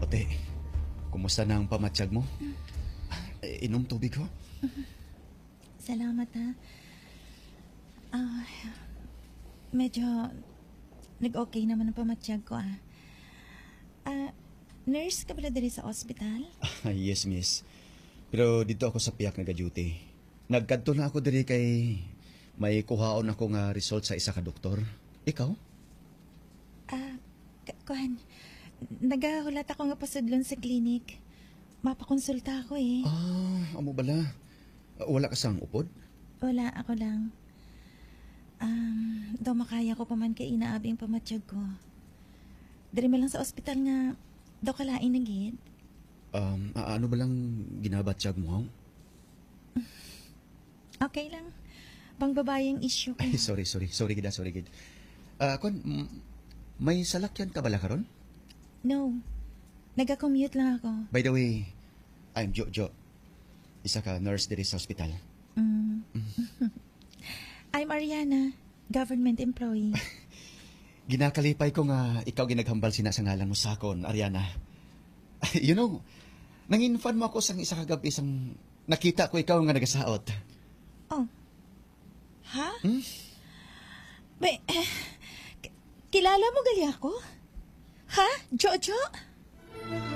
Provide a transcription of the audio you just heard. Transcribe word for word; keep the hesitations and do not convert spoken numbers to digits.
Te, kumusta na ang pamatyag mo? Eh, inom tubig, ho? Salamat, ha. Ah, medyo nag-okay naman ang pamatyag ko, ah. Ah, nurse ka bala diri sa ospital? Ah, yes, miss. Pero dito ako sa piyak nagaduty. Nagkadto na ako diri kay may kuhaon ako nga result sa isa ka doktor. Ikaw? Ah, k- kuwan. Nagahulat ako nga pasudlon sa clinic. Mapakonsulta ako eh. Ah, amo bala. Wala ka sang upod? Wala, ako lang. Um, daw makaya ko pa man kay inaabi ang pamatyag ko. Diri man lang sa ospital nga, daw kalain na gid. Um, a- ano ba lang ginabatyag mo? Okay lang. Pang babae ang issue ko. Ay, sorry, sorry. Sorry gid, ah, sorry gid. Ah, kon, mm, may salakyan ka bala karon? No. Nagakommute lang ako. By the way, I'm Jojo. Isa ka nurse diri sa ospital. Mm. I'm Ariana, government employee. Ginakalipay ko nga ikaw ginaghambal sina sa ngalan mo sa akon, Ariana. You know, nangin-fan mo ako sang isa ka gab-i sang nakita ko ikaw nga nagasaot. Oh. Ha? Hmm? May, eh, k- kilala mo gali ako? Ha? Jojo?